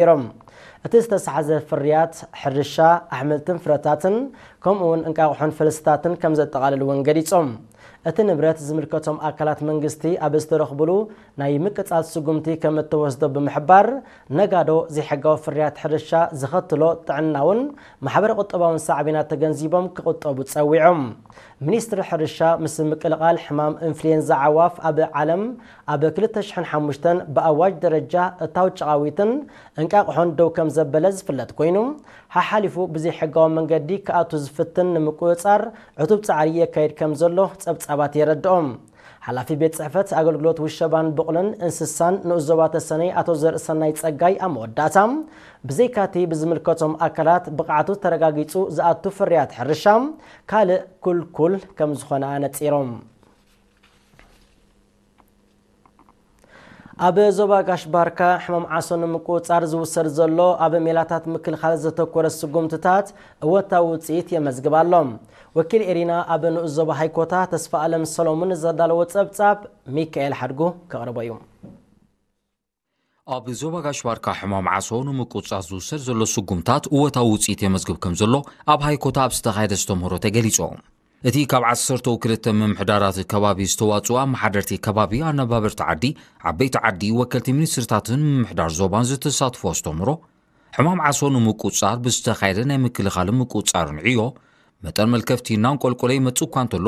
ነይሮም። እቲ ዝተሰሓዘ ፍርያት ሕርሻ፣ ኣሕምልትን ፍረታትን፣ ከምኡ እውን እንቃቑሖን ፈልስታትን ከም ዘጠቓልል እውን ገሊጾም። እቲ ንብረት ዝምልከቶም ኣካላት መንግስቲ ኣብ ዝተረኽብሉ ናይ ምቅጻል ስጉምቲ ከም እተወስዶ ብምሕባር፣ ነጋዶ ዘይሕጋዊ ፍርያት ሕርሻ ዘኸትሎ ጥዕናውን ማሕበረ ቁጠባውን ሳዕቤናት ተገንዚቦም ክቑጠቡ ጸዊዖም። ሚኒስትሪ ሕርሻ ምስ ምቅልቓል ሕማም ኢንፍሉዌንዛ ኣዕዋፍ ኣብ ዓለም ኣብ ክልተ ሽሕን ሓሙሽተን ብኣዋጅ ደረጃ እታው ጨቓዊትን እንቃቑሖን ደው ከም ዘበለ ዝፍለጥ ኮይኑ፣ ሓሓሊፉ ብዘይሕጋዊ መንገዲ ክኣቱ ዝፍትን ንምቁጽጻር ዕቱብ ጻዕሪ የካይድ ከም ዘሎ ጸብጻባት የረድኦም። ሓላፊ ቤት ጽሕፈት ኣገልግሎት ውሸባን ብቑልን እንስሳን ንኡስ ዞባ ተሰነይ ኣቶ ዘርእሰናይ ጸጋይ ኣብ መወዳእታ፣ ብዘይካቲ ብዝምልከቶም ኣካላት ብቕዓቱ ተረጋጊጹ ዝኣቱ ፍርያት ሕርሻ ካልእ ኩልኩል ከም ዝኾነ ኣነጺሮም። ኣብ ዞባ ጋሽ ባርካ ሕማም ዓሶ ንምቁጽጻር ዝውሰድ ዘሎ ኣብ ሜላታት ምክልኻል ዘተኮረ ስጉምትታት እወታዊ ውጽኢት የመዝግብ ኣሎ። ወኪል ኤሪና ኣብ ንኡስ ዞባ ሃይኮታ ተስፋ ኣለም ሰሎሙን ዘዳለዎ ጸብጻብ ሚካኤል ሓድጉ ከቕርቦ እዩ። ኣብ ዞባ ጋሽ ባርካ ሕማም ዓሶ ንምቁጽጻር ዝውሰድ ዘሎ ስጉምታት እወታዊ ውጽኢት የመዝግብ ከም ዘሎ ኣብ ሃይኮታ ኣብ ዝተኻየደ ኣስተምህሮ ተገሊጹ። እቲ ካብ ዓሰርተው ክልተ ምምሕዳራት ከባቢ ዝተዋጽኡ ኣመሓደርቲ ከባቢ፣ ኣነባበርቲ ዓዲ፣ ዓበይቲ ዓዲ፣ ወከልቲ ሚኒስትርታትን ምምሕዳር ዞባን ዝተሳትፎ ኣስተምህሮ፣ ሕማም ዓሶ ንምቁጽጻር ብዝተኻየደ ናይ ምክልኻልን ምቁጽጻርን ዕዮ፣ መጠን መልከፍቲ እናንቆልቆለ ይመጽእ እኳ እንተሎ፣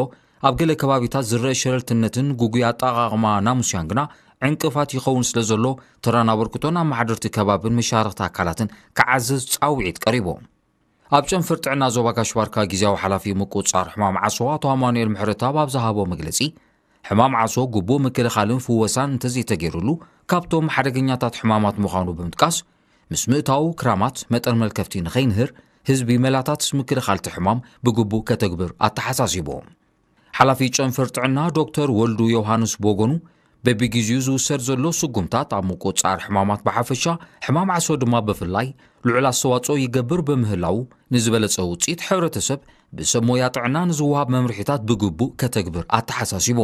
ኣብ ገለ ከባቢታት ዝረአ ሸለልትነትን ግጉይ ኣጠቓቕማ ናሙስያን ግና ዕንቅፋት ይኸውን ስለ ዘሎ፣ ተራን ኣበርክቶን ኣመሓደርቲ ከባብን መሻርኽቲ ኣካላትን ክዓዝዝ ጻውዒት ቀሪቡ። ኣብ ጨንፈር ጥዕና ዞባ ጋሽ ባርካ ግዝያዊ ሓላፊ ምቁጽጻር ሕማም ዓሶ ኣቶ ኣማኑኤል ምሕረተኣብ ኣብ ዝሃቦ መግለጺ፣ ሕማም ዓሶ ግቡእ ምክልኻልን ፍወሳን እንተዘይተገይሩሉ፣ ካብቶም ሓደገኛታት ሕማማት ምዃኑ ብምጥቃስ፣ ምስ ምእታዉ ክራማት መጠን መልከፍቲ ንኸይንህር፣ ህዝቢ መላታት ምክልኻል እቲ ሕማም ብግቡእ ከተግብር ኣተሓሳሲቡ። ሓላፊ ጨንፈር ጥዕና ዶክተር ወልዱ ዮሃንስ ብወገኑ፣ በቢግዜኡ ዝውሰድ ዘሎ ስጉምታት ኣብ ምቁጽጻር ሕማማት ብሓፈሻ፣ ሕማም ዓሶ ድማ ብፍላይ ልዑል ኣስተዋጽኦ ይገብር ብምህላዉ፣ ንዝበለጸ ውጽኢት ሕብረተሰብ ብሰብ ሞያ ጥዕና ንዝወሃብ መምርሒታት ብግቡእ ከተግብር ኣተሓሳሲቡ።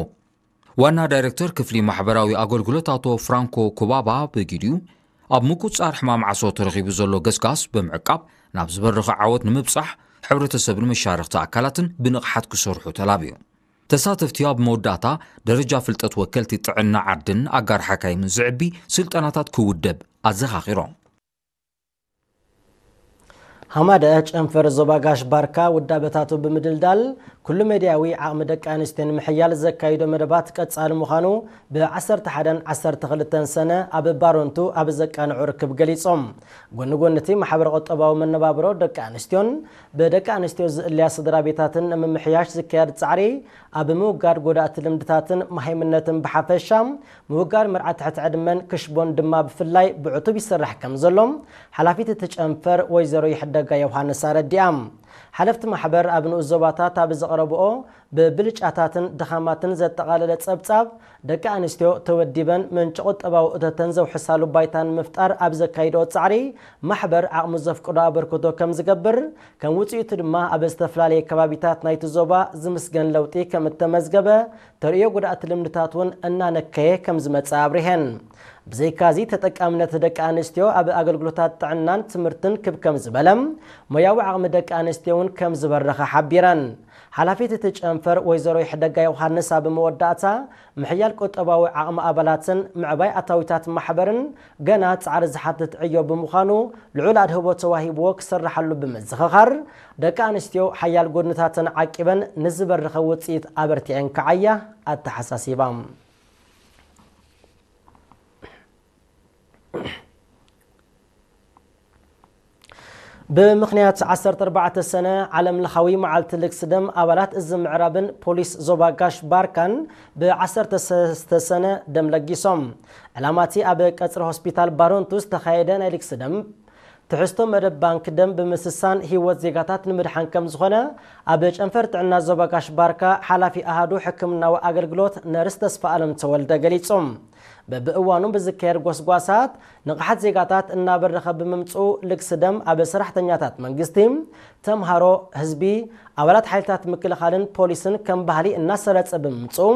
ዋና ዳይሬክተር ክፍሊ ማሕበራዊ ኣገልግሎት ኣቶ ፍራንኮ ኩባባ ብግዲኡ፣ ኣብ ምቁጽጻር ሕማም ዓሶ ተረኺቡ ዘሎ ገስጋስ ብምዕቃብ ናብ ዝበረኸ ዓወት ንምብጻሕ፣ ሕብረተሰብን መሻርኽቲ ኣካላትን ብንቕሓት ክሰርሑ ተላብዩ። ተሳተፍቲ ኣብ መወዳእታ ደረጃ ፍልጠት ወከልቲ ጥዕና ዓድን ኣጋር ሓካይምን ዝዕቢ ስልጠናታት ክውደብ ኣዘኻኺሮም። ሃማደ ጨንፈር ዞባ ጋሽ ባርካ ውዳበታቱ ብምድልዳል ኩሉ መድያዊ ዓቕሚ ደቂ ኣንስትዮ ንምሕያል ዘካይዶ መደባት ቀጻሊ ምዃኑ ብ ዓሰርተ ሓደን ዓሰርተ ክልተን ሰነ ኣብ ባሮንቱ ኣብ ዘቃንዑ ርክብ ገሊጾም። ጎኒ ጎኒ እቲ ማሕበረ ቁጠባዊ መነባብሮ ደቂ ኣንስትዮን ብደቂ ኣንስትዮ ዝእለያ ስድራ ቤታትን ንምምሕያሽ ዝካየድ ጻዕሪ ኣብ ምውጋድ ጎዳእቲ ልምድታትን መሃይምነትን ብሓፈሻ፣ ምውጋድ መርዓ ትሕቲ ዕድመን ክሽቦን ድማ ብፍላይ ብዕቱብ ይስራሕ ከም ዘሎ ሓላፊት እቲ ጨንፈር ወይዘሮ ይሕደጋ ዮሃንስ ኣረዲኣ። ሓለፍቲ ማሕበር ኣብ ንኡስ ዞባታት ኣብ ዘቕረብኦ ብብልጫታትን ድኻማትን ዘጠቓለለ ጸብጻብ፣ ደቂ ኣንስትዮ ተወዲበን ምንጪ ቁጠባዊ እቶተን ዘውሕሳሉ ባይታ ንምፍጣር ኣብ ዘካይድኦ ጻዕሪ ማሕበር ዓቕሙ ዘፍቅዶ ኣበርክቶ ከም ዝገብር፣ ከም ውጽኢቱ ድማ ኣብ ዝተፈላለየ ከባቢታት ናይቲ ዞባ ዝምስገን ለውጢ ከም እተመዝገበ፣ ተርእዮ ጎዳእቲ ልምድታት እውን እናነከየ ከም ዝመጽእ ኣብሪሀን። ብዘይካዚ ተጠቃምነት ደቂ ኣንስትዮ ኣብ ኣገልግሎታት ጥዕናን ትምህርትን ክብ ከም ዝበለ፣ ሞያዊ ዓቕሚ ደቂ ኣንስትዮ እውን ከም ዝበረኸ ሓቢረን። ሓላፊት እቲ ጨንፈር ወይዘሮ ይሕደጋ ዮሃንስ ኣብ መወዳእታ፣ ምሕያል ቁጠባዊ ዓቕሚ ኣባላትን ምዕባይ ኣታዊታት ማሕበርን ገና ጻዕሪ ዝሓትት ዕዮ ብምዃኑ፣ ልዑል ኣድህቦ ተዋሂብዎ ክስርሓሉ ብምዝኽኻር፣ ደቂ ኣንስትዮ ሓያል ጎድንታተን ዓቂበን ንዝበረኸ ውጽኢት ኣበርቲዐን ክዓያ ኣተሓሳሲባ። ብምኽንያት ዓሰርተ ኣርባዕተ ሰነ ዓለም ለኻዊ መዓልቲ ልግሲ ደም፣ ኣባላት እዚ ምዕራብን ፖሊስ ዞባ ጋሽ ባርካን ብ ዓሰርተ ሰለስተ ሰነ ደም ለጊሶም። ዕላማ እቲ ኣብ ቀጽሪ ሆስፒታል ባሮንቱ ዝተኻየደ ናይ ልግሲ ደም፣ ትሕዝቶ መደብ ባንክ ደም ብምስሳን ህይወት ዜጋታት ንምድሓን ከም ዝኾነ ኣብ ጨንፈር ጥዕና ዞባ ጋሽ ባርካ ሓላፊ ኣሃዱ ሕክምናዊ ኣገልግሎት ነርስ ተስፋ ኣለም ተወልደ ገሊጹ። በብእዋኑ ብዝካየድ ጎስጓሳት ንቕሓት ዜጋታት እናበረኸ ብምምፅኡ፣ ልግሲ ደም ኣብ ሰራሕተኛታት መንግስቲ፣ ተምሃሮ፣ ህዝቢ፣ ኣባላት ሓይልታት ምክልኻልን ፖሊስን ከም ባህሊ እናሰረፀ ብምምፅኡ፣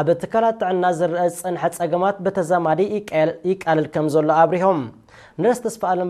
ኣብ ትካላት ጥዕና ዝረአ ዝፀንሐ ፀገማት ብተዛማዲ ይቃየል-፣ ይቃለል ከም ዘሎ ኣብሪሆም። ነርስ ተስፋ ኣለም